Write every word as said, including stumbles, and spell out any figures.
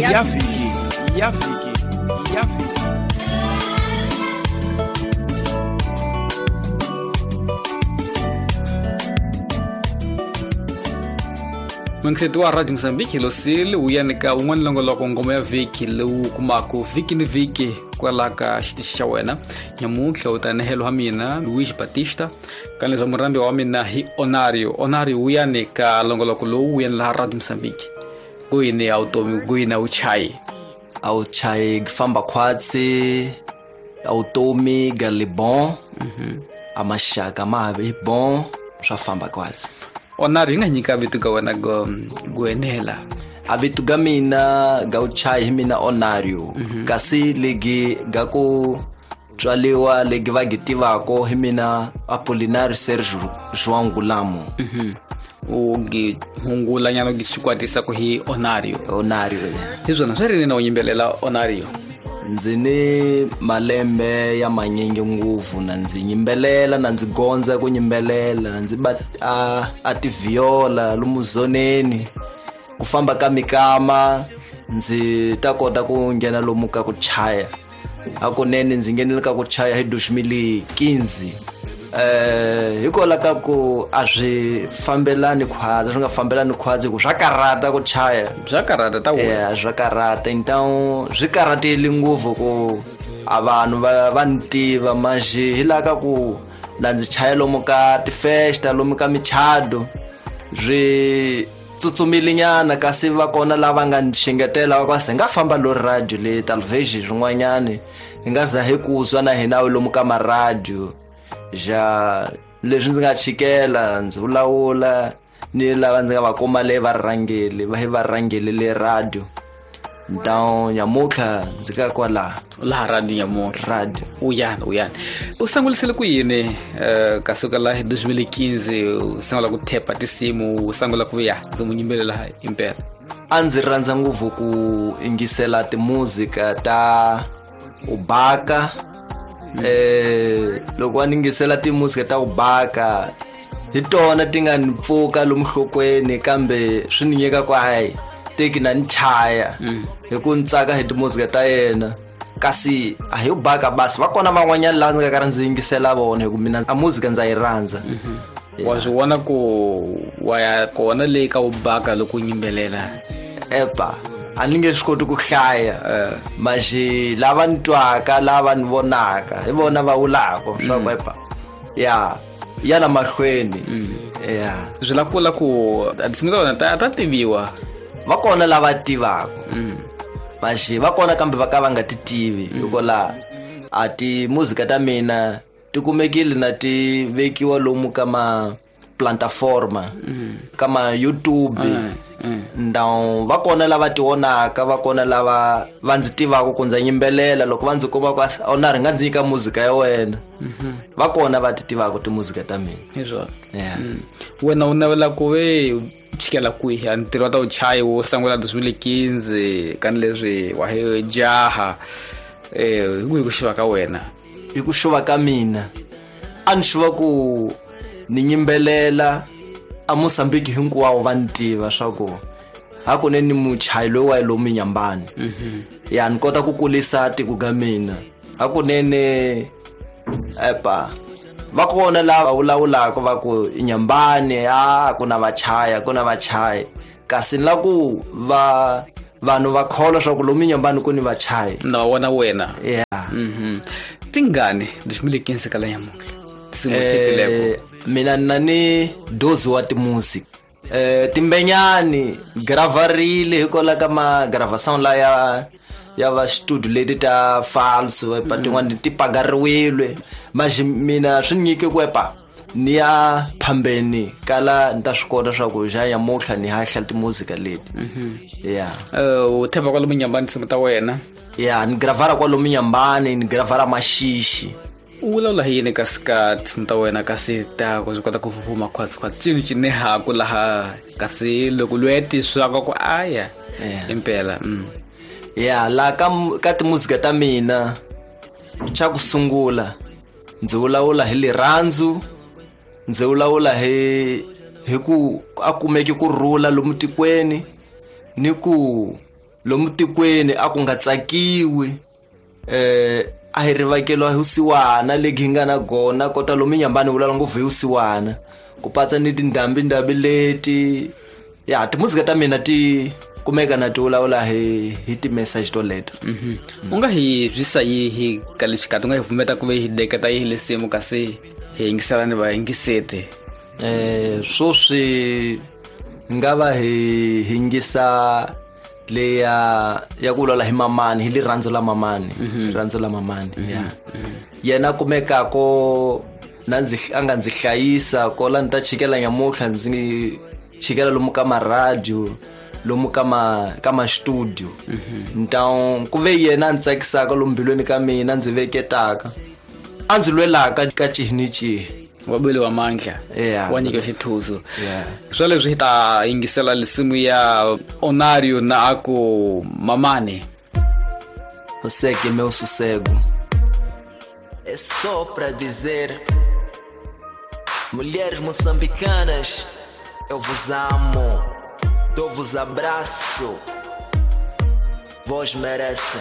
Ya vhiki, ya vhiki, ya vhiki. Mwengiseti wa Radio Mozambique Losile wu yanika wun'wana longoloko ngoma ya vhiki lowu kumaka vhiki ni vhiki kwala ka xitichi xa wena. Nyamuntlha u ta nehelo wa mina Luis Batista ka leswa murambi wa mina hi Onario. Onario wu yanika longoloko lowu wu laha Radio Mozambique. Kuyini ya utomi, kuyini a uchayi? A uchayi famba khwatsi, a utomi galibon, a maxaka ma ha bon, swa famba khwatsi. Onario nga nyika vito ka wena go go enela. A vito ga mina ga uchayi hi mina Onario. Kasi legi ga ku tswaliwa legi va gi tivako hi mina Apolinario Sergio João Gulamo. U gi hungula nyana gi xikwatisa ku hi Onario. Onario. Hi swona swi ri na u yimbelela Onario. Ndzi ni malembe ya manyingi ngopfu na ndzi yimbelela na ndzi gondza ku yimbelela na ndzi ba a, a tiviola lomu zoneni ku famba ka mikama ndzi ta kota ku nghena lomu ka ku chaya. Hakunene ndzi nghenile ka ku chaya hi dois mil e quinze. Eh hikola ka ku a swi fambelani khwatsi, swi nga fambelani khwatsi ku swa karata ku chaya. Swa karata ta wena. Yeah, swa karata. Então swi karatile ngopfu ku a vanhu va va ni tiva manje hi la ka ku la ndzi chaya lomu ka tifesta lomu ka michado swi tsutsumile nyana kasi va kona lava nga ni xengetela va ku se nga famba lo radio le television swin'wanyani hi nga za hi ku zwa na hina lomu ka maradio. Ja leswi ndzi nga chikela ndzi vulavula ni lava ndzi nga va kuma le va rhangeli va hi va rhangeli le radio. Então nyamutlha ndzi ka kwala laha radio nyamutlha radio uyani uyani u sangulisele ku yini eh ka suka la hi dois mil e quinze u sungula ku thepa tinsimu u sungula ku ya ndzi mu yimbelela impela. A ndzi rhandza ngopfu ku yingisela timuzika ta ubaka. Eh loko va ningisela timuzika ta ubaka hi tona ti nga ni pfuka lomu nhlokweni kambe swi ni nyika ku hayi teki na ni chaya hi ku ni tsaka hi timuzika ta yena. Kasi a hi ubaka basi va kona van'wanyana laha ndzi nga karhi ndzi yingisela vona hi ku mina a muzika ndza yi rhandza. Wa swi vona ku wa ya kona leyi ka ubaka loko u yimbelela? Epa a ni nge swi koti ku hlaya manje lava ni twaka lava ni vonaka hi vona va vulaka swa ku epa ya ya la mahlweni ya swi la kula ku tinsimu ta wena ta ta tiviwa. Va kona lava tivaka manje va kona kambe va ka va nga ti tivi hikola a ti muzika ta mina ti kumekile na ti vekiwa lomu ka ma plataforma ka ma YouTube. Então va kona lava ti vonaka va kona lava va ndzi tivaka ku ndza yimbelela loko va ndzi kuma ku ona ri nga ndzi nyika muzika ya wena. Va kona va ti tivaka timuzika ta mina. Hi swona. Yeah. Wena u navela ku ve chikela kwihi a ntirho wa ta uchayi wo sungula dois mil e quinze ka leswi wa hi jaha eh hi ku hi ku xuva ka wena? Hi ku xuva ka mina a ni xuva ku ni yimbelela a Mozambique hinkwawo va ni tiva swa ku hakunene ni muchayi loyi wa lomu Nyambani. Ya ni kota ku kulisa tiko ga mina hakunene. Epa va kona lava vulavulaka va ku Nyambani a ku na vachaya ku na vachayi kasi ni la ku va vanhu va kholwa swa ku lomu Nyambani ku ni vachayi na wona wena. Yeah. Mhm. Tingani dois mil e quinze ka la nyamuntlha tinsimu tepileko? Mina na ni doze wa timusic eh timbenyani gravarile hikola ka ma gravação la ya ya va studio leti ta falso epa tin'wana ti pagariwile manje mina swi nyike ku epa ni ya phambeni kala ni ta swi kota swa ku ja nyamuntlha ni hahla timuzika leti. Yeah. Eh u themba kwalomu Nyambani tinsimu ta wena? Yeah, ni gravara kwalomu Nyambani ni gravara maxixi. U vulavula hi yini kasi ka tinsimu ta wena kasi ta ku swi kota ku fufuma khwatsi khwatsi cini cinehaku laha kasi loko lweti swaka ku aya impela? Ya la ka ka timuzika ta mina xa ku sungula ndzi vulavula hi lirhandzu ndzi vulavula hi hi ku a kumeki ku rhula lomu tikweni ni ku Lomu tikweni a ku nga tsakiwi eh a hi rivakeliwa hi vusiwana legi hi nga na gona kota lomu nyambani vulavula ngopfu hi vusiwana ku patsa ni tindhambi-ndhambi leti ya timuzika ta mina ti kumeka na ti vulavula hi hi ti-message toleto. U nga hi byisa yihi ka lexikati u nga hi pfumeta ku ve hi deketa yihi lesimu kasi hi yingisela ni vayingiseti? Eh sweswi hi nga va hi hingisa leya ya ku vulavula hi mamani, hi rirhandzu la mamani, rirhandzu la mamani ya yena kumekako na ndzi a nga ndzi hlayisa ko la ni ta chikela nyamutlha ndzi chikela lomu ka maradio lomu ka ma ka ma studio. Então ku ve yena a ndzi tsakisaka lomu mbilwini ka mina ndzi veketaka a ndzi lwelaka ka cihi ni cihi wa bele wa mandla Yeah. wa nyika xithuzo. Yeah. Swa leswi hi ta yingisela lisimu ya Onario na aku Mamane. Você que é meu sossego. É só pra dizer, mulheres moçambicanas, eu vos amo, dou-vos abraço, vós merecem.